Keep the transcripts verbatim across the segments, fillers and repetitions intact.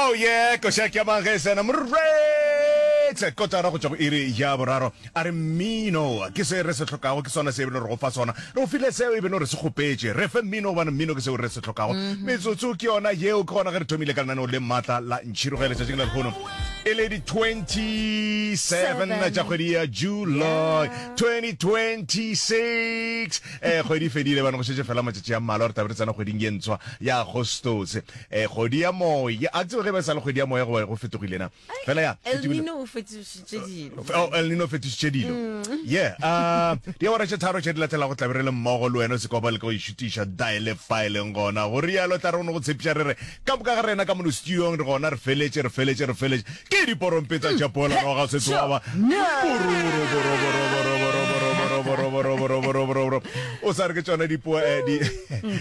Oh yeah, koša ke ya mang ge e sena moretse kotara go tšwa go iri ya boraro. A re mmino ke se re se hlokago, ke sona se e bile re go fa sona. Re go file seo e bile re se kgopetše. Re fe mmino gobane mmino ke seo re se hlokago. Metsotso ke yona yeo, ke gona ge re thomile ka lenaneo le maatla la Ntšhiroge letšatšing la lehono e le di twenty-seven tša kgwedi ya July twenty twenty-six. Eh, kgwedi e fedile bana, go šetše fela matšatši a mmalwa re tla be re tsena kgweding ye ntshwa ya Agostose. Eh, kgwedi ya moya, a tsebe ge ba sa le kgwedi ya moya goba go fetogile na. Fela ya, El Nino o fetošitše dilo. Oh, El Nino o fetošitše dilo. Yeah, uh, diawara tše tharo tše di latelago tla be re le mmogo le wena, o se kwa ba leka go išutiša diale fa e leng gona. Go rialo tla re go no go tshepiša re re ka moka ga rena ka mono studiong re gona, re feletše, re feletše, re feletše. Ke diporompeta tša poelano ga se tsoaba. O sa re ke tšona dipo eh, di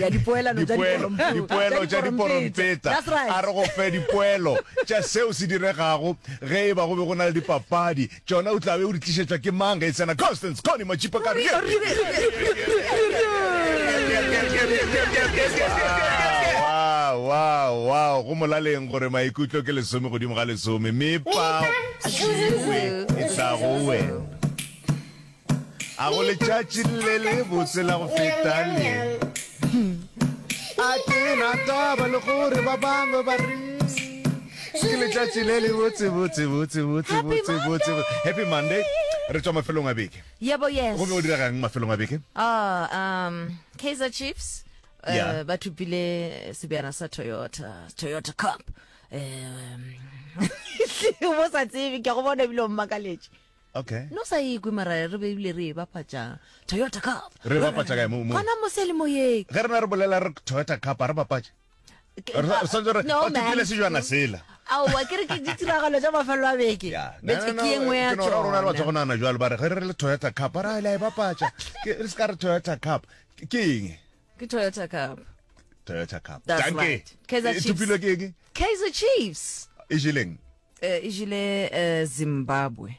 Ya dipoelano tša dipoelo diporompeta. dipoelo tša diporompeta. That's right. A re go fe dipoelo tša seo se diregago ge e ba go be go na le dipapadi. Tšona o tla be o di tlišetšwa ke mang ge e tsena Constance Connie Matšipa ka re Wow, wow, wow. Go molaleng gore maikutlo ke lesome godimo ga lesome. Mepa tšiwe e tla go wena. A go letšatši le le botse la go feta le. A ke na taba le gore ba bangwe ba re ke letšatši le le botse botse botse botse Happy botse botse. Happy Monday. Re tšwa mafelong a beke. Yebo, yes. Go be go diregang mafelong a beke? Ah, um, Kaizer Chiefs uh, Yeah. ba thopile sebjana sa Toyota, Toyota Cup. Um, bo sa tsebe ke go bona ebile o mmakaletše. Okay. No sa ikwe mara re be ebile re e bapatša Toyota Cup. Re bapatša kae mo mo? Gona mo selemoyeng. Ge rena re bolela re Toyota Cup a re bapatše. Ke- Re sa- re swanetše re No, ba thopile man. sejwana sela. Aowa, ke re ke ditiragalo tša mafelo a beke. Ya. No, Betse no, no, ke ye nngwe ya ke no ra rona re batho go tšona. nagana jwalo ba re ge re le Toyota Cup a re a le a e bapatša. Ke re se ka re Toyota Cup. Ke ke eng? Ke Toyota Cup. Toyota Cup. That's Danke. right. Kaizer E Chiefs. thopilwe ke eng? Kaizer Chiefs. E jeleng? Eh, e jele eh, Zimbabwe.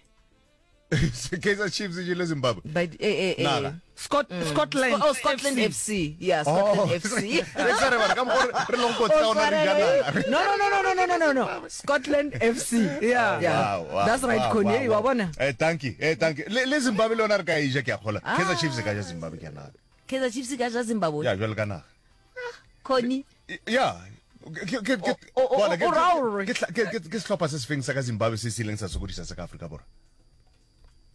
Kaizer Chiefs e jele Zimbabwe. But eh eh eh. Naga. Scot Scotland Oh, Scotland F C. F C. Yeah, Scotland Oh. F C. Re sa re bana ka mokgwa re- re leng kotsi ka ona re ja naga. No, no, no, no, no, no, no, no, no. Scotland F C. Yeah. Yeah. Wow, wow, That's right, wow, Connie. wow, Wa wow. bona? Eh, thank you. Eh, thank you. Le, le Zimbabwe le yona re ka e ja ke a kgola. Kaizer Chiefs e ka ja Zimbabwe ke a naga. Kaizer Chiefs e ka ja Zimbabwe. Ya jwalo ka naga. Connie. Ya. Ke ke ke O- o- bona, ke- o ra hore- ke ke ke ke sehlopha se sefeng sa ka Zimbabwe se se ileng sa sokodisa sa ka Afrika Borwa.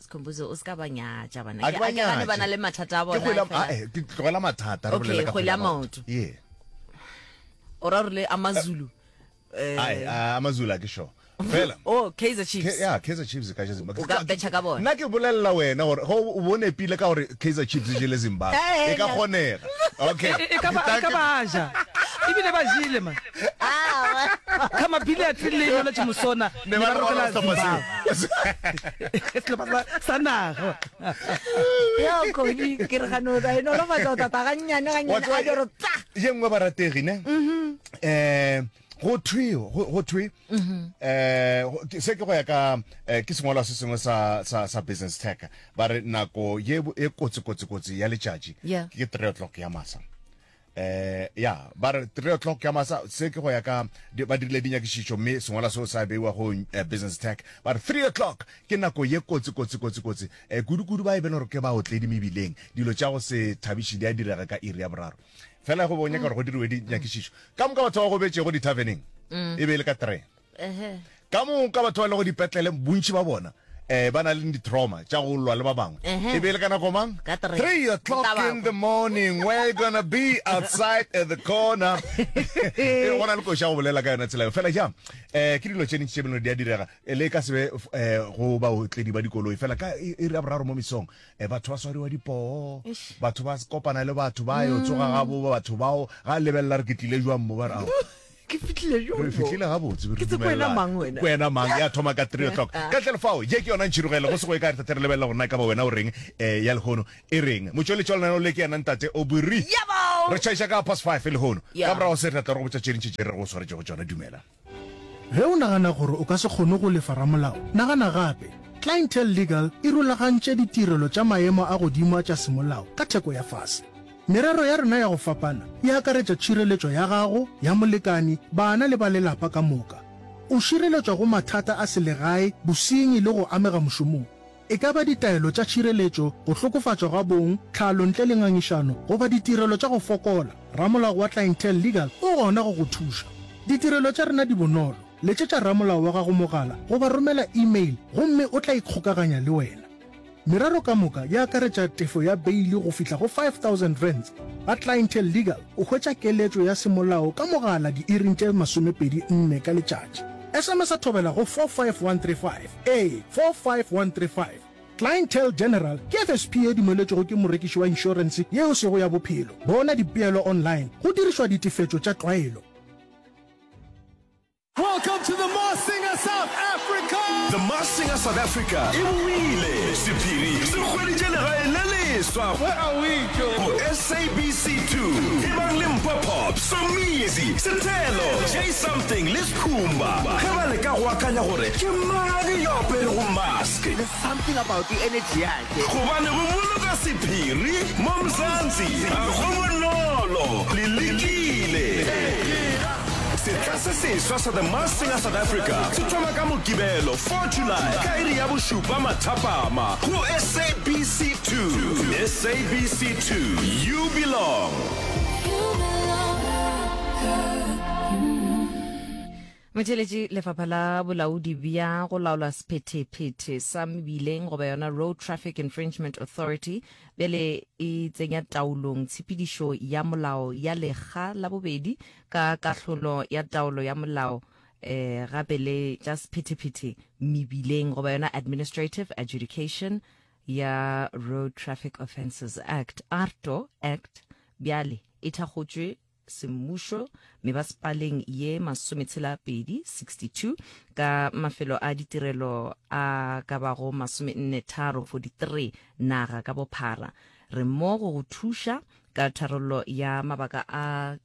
Sikhumbuzo o ska ba nyatša bana. A ke Ke ba a ke gane nyatše. ba na le mathata a Ke bona. kgwele ya- fela. ah, eh, ke tlogela mathata re Okay, bolela ka kgwele ya kgwele ya maoto. maoto. Yeah. O ra hore le AmaZulu. Eh, Ai, ah, AmaZulu a ke sure. Fela. Oh, Kaizer Chiefs. Ke- ya Kaizer Chiefs e ka ja Zimbabwe. O ka betšha ka bona. Nna ke bolelela wena gore go o bone pile ka gore Kaizer Chiefs e jele Zimbabwe. Eh, E ka eh, kgonega. Okay. E ka ba e ka ba ja. Ebile ba jele man. Ah, Ka mabili a tlile le yona Musona. Ne ba re rokela sehlopha Zimbabwe. seo. Sehlopha sa- sa naga. Ya Connie, ke re gane o tla e nolofatsa o tata gannyane Wa gannyane tseba- a joro tsa. ye nngwe barategi ne eh go thwe go go thwe eh go- ke- se ke go ya ka eh, ke sengwalwa se sengwe sa sa sa business tech ba re nako ye bo- e kotsi kotsi kotsi ya letšatši Yeah. ke three o'clock ya masa. Eh ya ba re three o'clock ya masa se ke go ya ka di- ba dirile dinyakišišo mme sengwalwa seo sa beiwa go eh, business tech ba re three o'clock ke nako ye kotsi kotsi kotsi kotsi eh kudu-kudu ba e bene gore ke ba otledi mebileng dilo tša go se thabiše di a direga ka iri ya boraro fela go bo nyaka gore go diriwe dinyakišišo ka moka batho ba go betšego di-taverning e be e le ka three Ehe. ka moka batho ba lego dipetlele bontši ba bona eh ba na le di-trauma tša go lwa le ba bangwe Ehe. e be e le ka nako mang Ka three. three o'clock in the morning we're gonna be outside at the corner e go na le koša go bolela ka yona tsela eo fela jang eh ke dilo tše dintši tše beno di a direga Eh, le ka se be eh go baotledi ba dikoloi fela ka e iri ya boraro mo mesong eh batho ba swariwa dipoo batho ba kopana le batho ba yo tsoga gabo batho bao ga lebelela re ke tlile jwang mo ba re ao Ke fihlile jwang re mo? fihlile gabotse re Ke tse ko wena dumelelana. mang wena? Ko wena mang ya thoma ka three o'clock ka ntle le fao ye ke yona ntšhirogele go se go e ka re tate re lebelela gore na e ka ba wena o reng um ya lehono e reng motšweletši wa lenaneo le ke yena ntate o bori Yabo! re tšhaiša ka past five lehono Yeah. ka morago se re tla re go botša tše dintši tše re go swaretšego tšona dumela Ge o nagana gore o ka se kgone go lefa ramolao, nagana gape. Clientele Legal e rulagantše ditirelo tša maemo a godimo a tša semolao ka theko ya fase. Merero ya rena ya go fapana e akaretša tšhireletšo ya gago, ya molekani, bana le ba lelapa ka moka. O šireletšwa go mathata a selegae, bosenyi le go amega mošomong. E ka ba ditaelo tša tšhireletšo, go hlokofatšwa ga bong, tlhalo ntle le ngangišano, goba ditirelo tša go fokola, ramolao wa Clientele Legal o gona go go thuša. Ditirelo tša rena di bonolo, letšetša ramolao wa gago mogala goba romela email gomme o tla ikgokaganya le wena. Merero ka moka e akaretša tefo ya beili go fihla go five thousand rands. Ga Clientele Legal o hwetša keletšo ya semolao ka mogala diiring tše masomepedi nne ka letšatši. S M S a thobela go four five one three five, ee, four five one three five. Clientele General ke F S P ye dumeletšwego ke morekiši wa inšorense ye e sego ya bophelo. Bona dipeelo online go dirišwa ditefetšo tša tlwaelo. Welcome to the Masked Singer South Africa! The Masked Singer South Africa e boile! Sephiri se hweditše legae le leswa Where are we, Joe? Go S A B C two. Ebang le Mpho Pop, Somizi, Sethelo, J Something le Skhumba ge ba leka go akanya gore ke mang yo aperego mask. There's something about the energy yakhe. Gobane go boloka sephiri mo Mzansi ga go bonolo, le lekile. Setla se seswa sa The Masked Singer South Africa se thoma ka Mokibelo four July ka iri ya bošupa mathapama go S A B C two. S A B C two, you belong. Motheeletši, Lefapha la Bolaodi bja go Laola Sephethephethe sa Mebileng goba yona Road Traffic Infringement Authority bjale e tsenya taolong tshepedišo ya molao ya lekga la bobedi ka kahlolo ya taolo ya molao eh gape le tša sephethephethe mebileng goba yona Administrative Adjudication ya Road Traffic Offences Act, AARTO Act, bjale e thakgotšwe semmušo mebasepaleng ye masometshela pedi, sixty two, ka mafelo a ditirelo a ka bago masomenne tharo, forty three, naga ka bophara. Re mo go go thuša ka tharollo ya mabaka a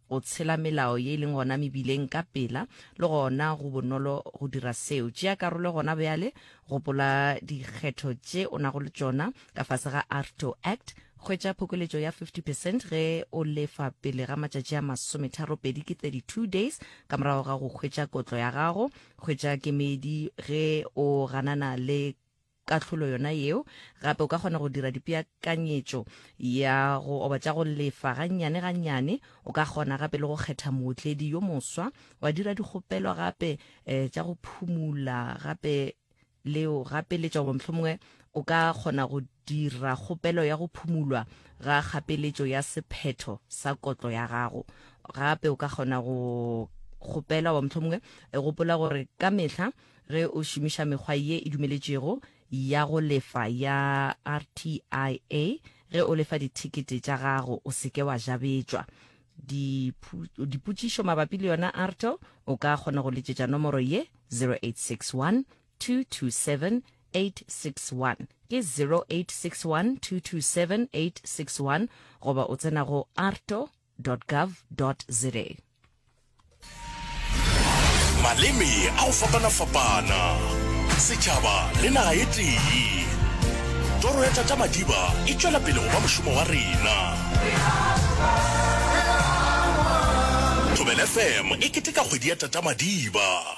go tshela melao ye e leng gona mebileng ka pela le gona go bonolo go dira seo. Tšea karolo gona bjale, gopola dikgetho tše o nago le tšona ka fase ga AARTO Act. Hwetša phokoletšo ya fifty percent ge o lefa pele ga matšatši a masometharopedi, ke thirty two days, ka morago ga go hwetša kotlo ya gago. Hwetša kemedi ge o ganana le kahlolo yona yeo. Gape o ka kgona go dira dipeakanyetšo ya go oba tša go lefa gannyane gannyane. O ka kgona gape le go kgetha mootledi yo moswa, wa dira dikgopelo gape um tša go phumula gape leo gapeletšwa, goba mohlomongwe o ka kgona go dira kgopelo ya go phumulwa ga kgapeletšo ya sephetho sa kotlo ya gago. Gape o ka kgona go kgopela, goba mohlomongwe gopola gore ka mehla ge o šomiša mekgwa ye e dumeletšwego ya go lefa ya R T I A ge o lefa dithekete tša gago, o se ke wa jabetšwa. Dipotšišo mabapi le yona AARTO, o ka kgona go letšetša nomoro ye zero eight six one two two seven eight six one, ke zero eight six one two two seven eight six one, goba o tsena go aarto dot gov dot za. Maleme a go fapana-fapana, setšhaba le naga ye tee. Toro ya Tata Madiba e tšwela pele go ba mošomo wa rena. Thobela F M e keteka kgwedi ya Tata Madiba.